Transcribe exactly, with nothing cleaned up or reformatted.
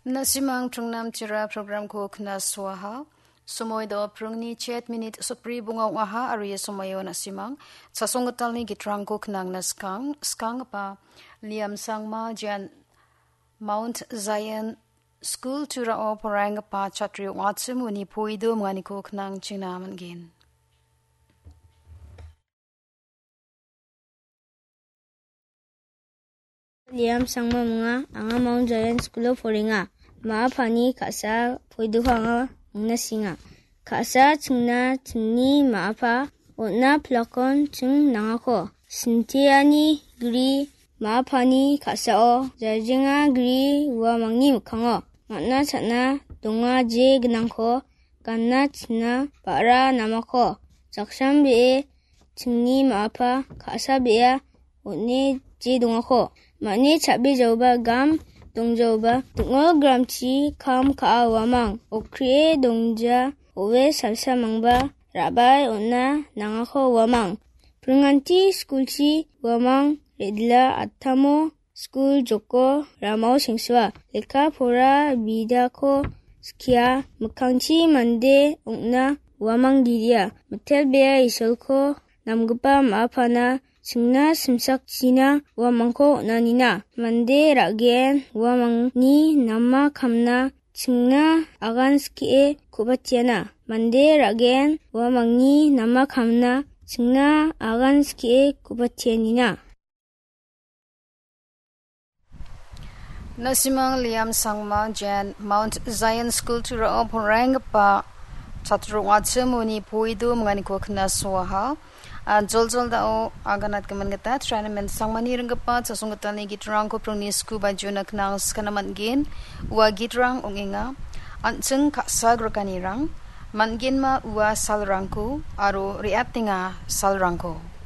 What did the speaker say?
Na·simang Trungnam Tira programko knasoaha. Somoi do prungni chet minit sotbri bonga ong·aha, aro ia somoio na·simang chasonggitalni gitrangko knangna skang, skanggipa Liam Sangma, Jan Mount Zion School Turao poraienggipa chatri ong·achim uni poido minganiko knangchingna man·gen. Liam Sangma minga, anga Mount Zion School-o porenga. Ma·a pani ka·sa poidoko anga mingna singa. Ka·sa chingna chingni ma·a pa on·na pilakon ching nangako. Sintiani gri ma·a pani ka·sao jarjenga gri uamangni mikkango. Man·a cha·na donga je gnangko ganna china ba·ra namako. Jaksan be·e chingni ma·a pa ka·sa be·a on·e je dongako. Ma·ni cha·be jaoba gam dongjaoba ding·o gramchi kam ka·a uamang. Okrie dongja owe salsa mangba ra·bae on·na nangako uamang. Pringanti skulchi uamang re·dila attamo skul joko ramao sengsoa. Lekka pora bidako skia mikkangchi mande ong·na uamang diria. Mitelbea Isolko namgipa ma·a pana chingna simsakchina uamangko on·anina. Mande ra·gen uamangni nama kamna chingna agan skie ku·batiana. Mande ra·gen uamangni nama kamna chingna agan skie ku·batianina. Na·simang Liam Sangma, Jan Mount Zion School Turao poraienggipa chatri ong·achim uni poido minganiko knasoaha. A, joljol dao aganatgimin gita Trainamen Sangmani ringgipa chasonggitalni gitrangko prungni sku bajuna knang skana man·gen. Ua gitrang ong·enga, an·ching ka·sa grikanirang, man·genma ua salrangko aro re·atenga salrangko.